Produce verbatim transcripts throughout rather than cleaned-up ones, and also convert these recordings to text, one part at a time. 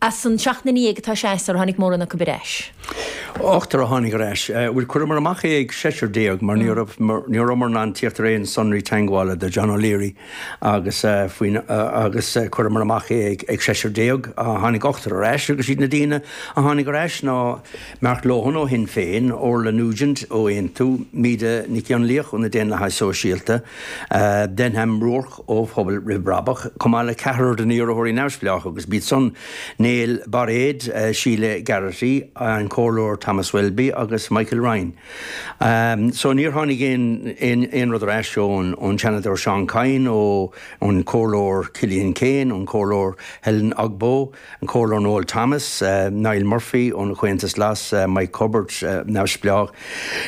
As an seacht nduine dhéag atá seasta, ar tháinig mórán acu ar ais? Ochtar a tháinig ar ais. Bhuel, chuireamar amach é ag seisear déag mar ní raibh ní rabhamar in ann tíocht ar aon sonraí teagmhála do John O'Leary agus faoin agus chuireamar amach é ag ag seisear déag. Tháinig ochtar ar ais agus iad na daoine a tháinig ar ais ná Mark Lohan ó Shinn Féin, Orla Nugent ó Aontú, Míde Nic Fhionnlaoich ó na Daonlathaithe Sóisialta, Denham Rourke ó Phobal Roimh Bhrabach, chomh maith le ceathrar de na hiarrthóirí neamhspleácha agus b'iad san Neil Bairéad, Sheila Garrity, an Comhairleoir Thomas Welby agus Michael Ryan. So níor tháinig aon aon aon rud ar ais ón ón Seanadóir Seán Kyne, ó ón Comhairleoir Killian Kane, ón Comhairleoir Helen Ogbo, an Comhairleoir Noel Thomas, Niall Murphy ón Chomhaontas Glas, Mike Hubbard neamhspleách,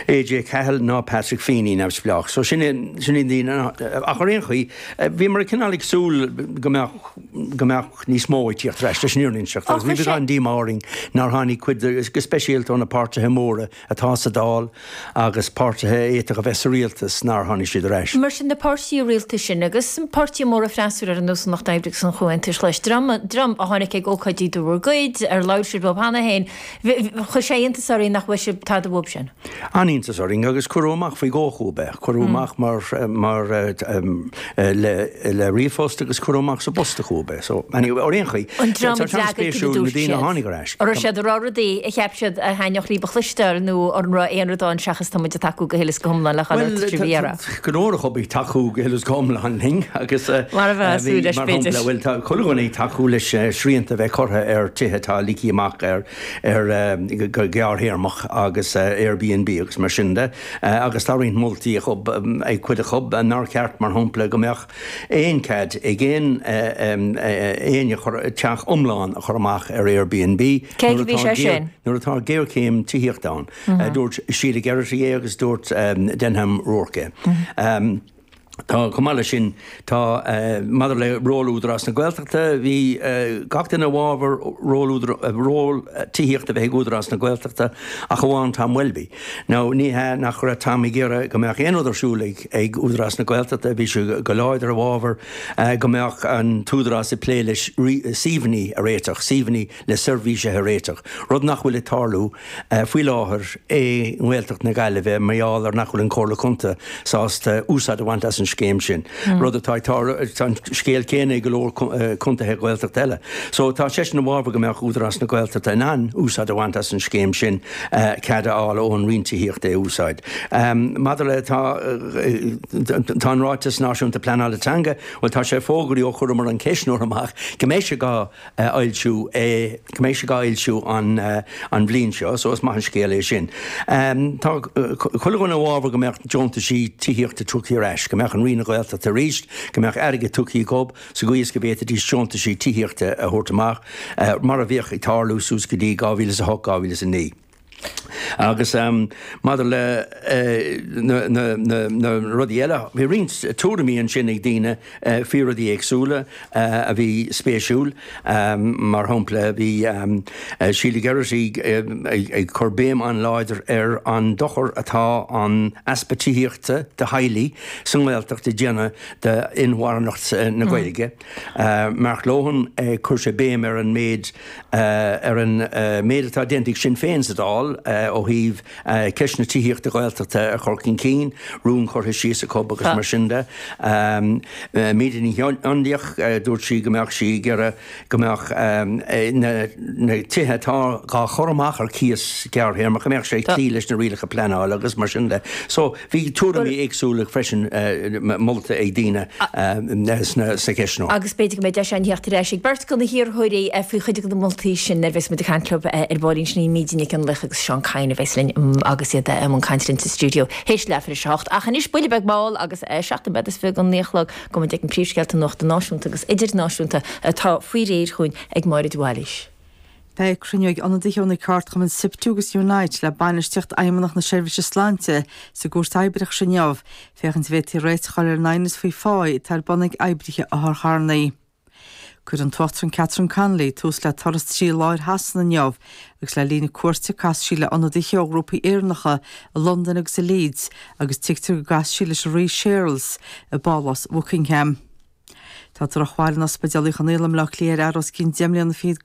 AJ Cahill ná Patrick Feeney neamhspleách. So sin sin iad daoine ach ar aon chaoi bhíomar cineál ag súil go mbeadh go mbeadh níos mó ag tíocht ar ais leis an fhírinne a inseacht agus bhí beagán díomá orainn nár tháinig cuid go speisialta ó na páirtithe móra atá sa Dáil agus páirtithe a fhéadfadh a bheith sa rialtas nár tháinig siad ar ais. Mar sin na páirtithe rialtais sin agus páirtithe móra freasúra ar nós an Lucht Oibre agus an Chomhaontais Ghlais, dream dream a tháinig ag ócáidí de bhur gcuid, ar labhair sibh leo cheana féin, chuir sé iontas orainn nach bhfuair sibh tada uathu sin. An-iontas orainn agus cuireadh amach faoi dhó chucu é. Cuireadh amach mar mar le le ríomhphost agus cuireadh amach sa bpost chucu é. So anyway, ar aon chaoi, An dream tá a d'fhreagair cad a an-spéisiúil na dúirt daoine a siad? tháinig ar ais. An raibh siad ag rá rudaí a cheap siad a thaitneodh libh a chloisteáil nó an raibh aon rud ann seachas tá muid ag tacú go huile is go hiomlán le chuile Well, rud a bhí a rá? go leor acu ag tacú go huile is go hiomlán linn agus Mar a bheadh bhí súil leis mar b'fhéidir. shampla, bhuel tá chuile dhuine ag tacú leis srianta a bheith curtha ar tithe atá ligthe amach ar ar go gearrthéarmach agus Airbnb agus mar sin de agus tá roinnt moltaí acu ag cuid acu nár cheart mar shampla go mbeadh aon cead ag aon éinne chur teach iomlán a chur amach ar Airbnb Cé nuair go bhí atá sé sin? nuair atá géarchéim tithíochta ann. Dúirt Sheila Geraghty é agus dúirt Denham Rourke é. Tá chomh maith leis sin tá maidir le ról Údarás na Gaeltachta bhí gach duine i bhfabhar ról ról tithíochta a bheith ag Údarás na Gaeltachta ach amháin Tom Welby. Now ní hea nach raibh Tom ag iarraidh go mbeadh aon rud ar siúl ag ag Údarás na Gaeltachta bhí sé go láidir i bhfabhar go mbeadh an t-údarás ag plé leis suíomhanna a réiteach, suíomhanna le seirbhísithe a réiteach, rud nach bhfuil ag tarlú faoi láthair i nGaeltacht na Gaillimhe mar gheall ar nach bhfuil an Comhairle Contae sásta úsáid a bhaint as an scéim sin. Rud atá tá an scéal céanna ag go leor contaetha Gaeltacht eile. So tá seisean i bhfabhar go mbeadh Údarás na Gaeltachta in ann úsáid a bhaint as an scéim sin cead a fháil ón Roinn Tithíochta é úsáid. Maidir le tá tá an ráiteas náisiúnta pleanála teanga, well tá sé fógraithe ó chuireamar an ceistneoir amach go mbeidh sé á fhoilsiú é go mbeidh sé á fhoilsiú an an bhliain seo, so is maith an scéal é sin. Tá chuile dhuine i bhfabhar go mbeadh deontaisí tithíochta tugtha ar ais, go mbeadh an Roinn Gaeltachta arís, go mbeadh airgead tugtha dóibh sa gcaoi is go bhféadfaidís deontaisí tithíochta a thabhairt amach mar a bhíodh ag tarlú suas go dtí dhá mhíle is a hocht dhá mhíle is a naoi. Agus um, maidir le uh, na, na, na, na rudaí eile, bhí roinnt tuairimí ansin ag daoine uh, faoi rudaí éagsúla uh, a bhí spéisiúil um, mar shampla bhí um, uh, Sheila Geraghty uh, ag, ag cur béim an-láidir ar an dochar atá an easpa tithíochta do theaghlaigh sa nGaeltacht ag déanamh d'inmharthanacht na Gaeilge. Uh, Mark Lohan uh, chuir sé béim ar an méid uh, ar an uh, méid atá déanta ag Sinn Féin sa Dáil uh, ó thaobh uh, ceist na tithíochta Gaeltachta a chur chun cinn, rún curtha síos acu agus mar sin de. Um, uh, Míde Ní Fhionnlaoich uh, dúirt sí go mbeadh sí ag iarraidh go mbeadh um, na, na tithe atá á gcur amach ar cíos gearrthéarmach go mbeadh sé clí leis na rialacha pleanála agus mar sin de. So bhí tuairimí éagsúla freisin uh, molta ag daoine uh, sna sa cheistneoir. Agus b'fhéidir go mbeidh deis againn theacht ar ais ag beirt de na hiarrthóirí faoi chuid de na moltaí sin ar bheas muid ag caint leo ar ball sin Míde Nic Fhionnlaoich agus Seán Kyne a bheas linn agus iad i mbun cainte linn sa stiúideo théis leathuair tar éis a hocht ach anois buille beag mall agus seacht nóiméad is fiche don naoi a chlog go mbeidh an príomhscéalta nuachta náisiúnta agus idirnáisiúnta atá faoi réir chugainn ag Máire de Bhailís. Beidh cruinniú ag ionadaithe ó na ceardchumainn SIPTU agus Unite le bainistíocht Fheidhmeannacht na Seirbhíse Sláinte sa gCúirt Oibreachais inniu, féachaint an bhféadfaí réiteach a fháil ar an aighneas faoi phá atá ar bun ag oibrithe otharcharranna. Cuirfidh an tUachtarán Catherine Connolly tús le turas trí lá ar Shasana inniu, agus le linn a cuairte casfaidh sí le ionadaithe ó ghrúpaí Éireannacha i Londain agus i Leeds agus tuigtear go gcasfaidh sí leis an Rí Charles i bPálás Buckingham. Tá drochbhail in Ospidéal Uí Chonaill i mBleá Cliath ar fhear os cionn deich mbliana fichead